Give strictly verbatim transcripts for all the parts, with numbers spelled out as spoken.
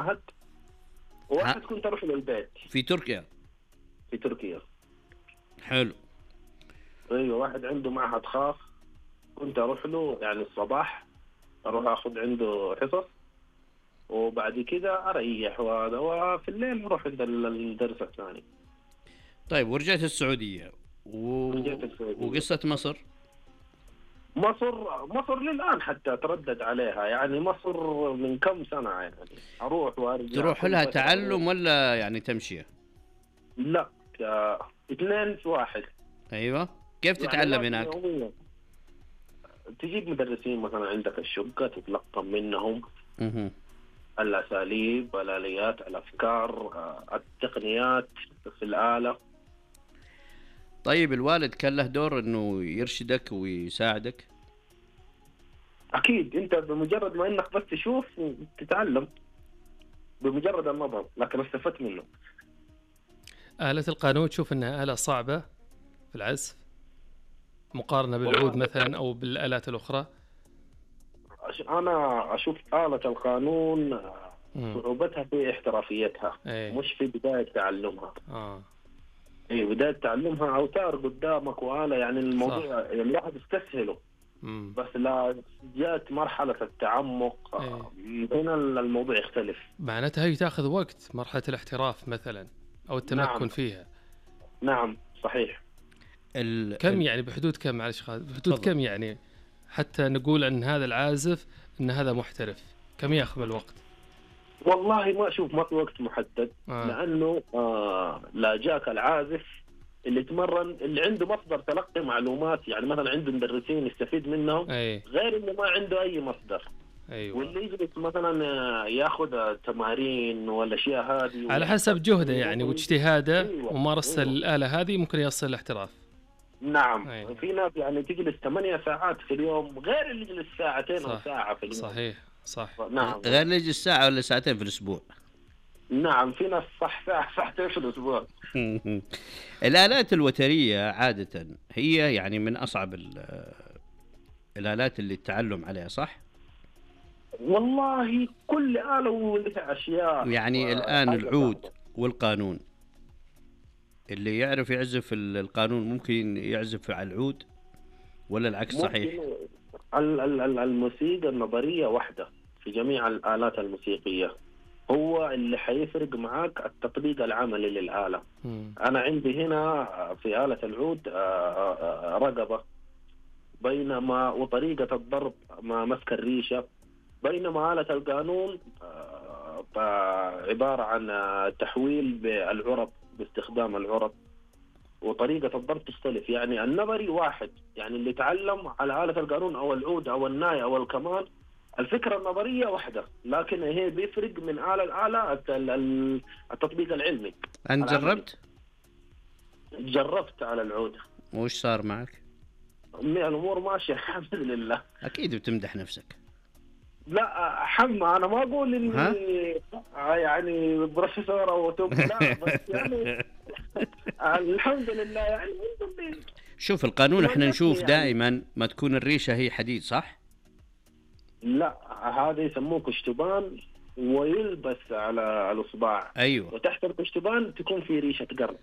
معهد، ها وواحد كنت أروح للبيت في تركيا. في تركيا. حلو. أيوة، واحد عنده معهد خاص، كنت أروح له يعني الصباح، أروح أخذ عنده حصص، وبعد كده أريح وهذا، وفي الليل أروح عند الدرس الثاني. طيب ورجعت السعودية و... رجعت السعودية. وقصة مصر. مصر مصر للآن حتى أتردد عليها، يعني مصر من كم سنة يعني أروح وأرجع. تروح كل لها فترة تعلم أروح. ولا يعني تمشية؟ لا، ك- اثنين في واحد. أيوة. كيف يعني تتعلم لازم هناك؟ يوميا تجيب مدرسين مثلا عندك الشقة، تتلقى منهم مه. الأساليب، الآليات، الأفكار، آه، التقنيات في الآلة. طيب الوالد كان له دور إنه يرشدك ويساعدك؟ أكيد، أنت بمجرد ما إنك بس تشوف تتعلم بمجرد النظر، لكن استفدت منه. آلة القانون تشوف أنها آلة صعبة في العزف مقارنة بالعود والله مثلا أو بالآلات الأخرى؟ أش- أنا أشوف آلة القانون آه، مم. صعوبتها في احترافيتها، أي. مش في بداية تعلمها. آه. إيه، بداية تعلمها أوتار قدامك وآلة، يعني الموضوع يعني الواحد يستسهله. مم. بس لا جاءت مرحلة التعمق آه، هنا الموضوع يختلف. معناتها هي تأخذ وقت، مرحلة الاحتراف مثلا أو التمكن نعم. فيها. نعم صحيح. ال... كم ال... يعني بحدود كم، معلش خالد، بحدود تفضل. كم يعني حتى نقول أن هذا العازف أن هذا محترف؟ كم يأخذ الوقت؟ والله ما أشوف ما في وقت محدد. آه. لأنه آه لا جاك العازف اللي تمرن، اللي عنده مصدر تلقي معلومات، يعني مثلا عنده مدرسين يستفيد منهم، أي. غير اللي ما عنده أي مصدر. أيوة. واللي يجلس مثلا آه، ياخذ تمارين والأشياء هذه على حسب جهده يعني ويحتاج- واجتهاده أيوة. ومارسة أيوة. الآلة هذه ممكن يصل الاحتراف. نعم. أي. في ناس يعني تجلس ثمانية ساعات في اليوم، غير اللي يجلس ساعتين صح. أو ساعة في اليوم. صحيح صح. نعم. غير اللي يجي الساعة ولا ساعتين في الأسبوع. نعم، في ناس صح ساعة ساعتين في الأسبوع. الآلات الوترية عادة هي يعني من أصعب ال- الآلات اللي التعلم عليها، صح؟ والله كل آلة ولها أشياء. يعني الآن وحاجة العود صعبة. والقانون، اللي يعرف يعزف ال- القانون ممكن يعزف على العود ولا العكس صحيح؟ ممكن ال- ال- ال- الموسيقى النظرية واحدة في جميع الآلات الموسيقية، هو اللي حيفرق معاك التطبيق العملي للآلة. مم. أنا عندي هنا في آلة العود آه، آه، آه، رقبة، بينما وطريقة الضرب مع مسك الريشة، بينما آلة القانون آه، آه، عبارة عن آه، تحويل بالعرب، باستخدام العرب، وطريقة الضرب تختلف. يعني النظري واحد، يعني اللي تعلم على آلة القانون أو العود أو الناي أو الكمان، الفكرة النظرية واحدة، لكن هي بيفرق من آلة لآلة الت- ال- التطبيق العلمي. أنت العملي. جربت؟ جربت على العود. وش صار معك؟ الأمور ماشية الحمد لله. أكيد بتمدح نفسك. لا حمى، أنا ما أقول ها؟ إني يعني بروفيسور أو توب، لا بس يعني الحمد لله يعني. شوف القانون احنا نشوف يعني. دائما ما تكون الريشة هي حديد، صح؟ لا، هذا يسموه كشتبان ويلبس على الإصبع، أيوة. وتحت الكشتبان تكون في ريشة قرن.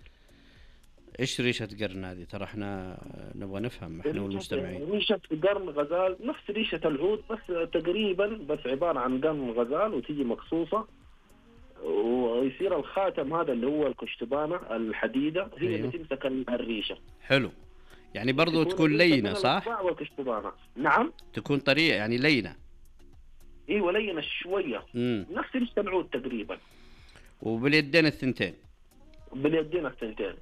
إيش ريشة قرن هذه؟ ترى احنا نبغى نفهم احنا والمستمعين. ريشة قرن غزال، نفس ريشة العود بس تقريبا، بس عبارة عن قرن غزال وتيجي مقصوصة، ويصير الخاتم هذا اللي هو الكشتبانة الحديدة هي أيوة. اللي تمسك الريشة. حلو. يعني برضو تكون الريشة لينة، بين صح؟ الإصبع والكشتبانة. نعم. تكون طريقة يعني لينة. ايوه لينة شوية. امم نفس ريشة العود تقريبا. وباليدين الثنتين. باليدين الثنتين.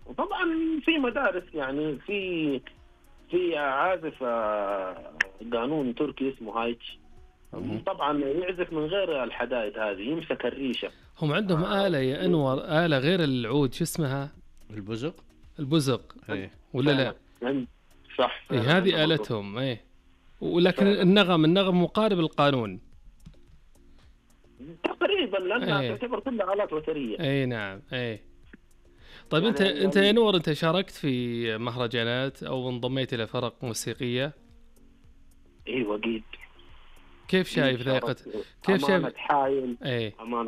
وطبعا في مدارس، يعني في في عازف آه، قانون تركي اسمه هايتش، مم. طبعا يعزف من غير الحدائد هذه، يمسك الريشة. هم عندهم آه. آلة يا أنور، آلة غير العود، شو اسمها؟ البزق. البزق ايه. ولا لا؟ عند- صح. إيه هذه آلتهم. إيه ولكن النغم النغم مقارب القانون تقريبا، لأنها أيه. تعتبر كلها آلات وترية. اي نعم. اي طيب يعني انت يعني انت يا نور، انت شاركت في مهرجانات او انضميت الى فرق موسيقيه؟ ايوه اكيد. كيف شايف ذا يا قت- كيف أمانة شايف حايل، ايه أمانة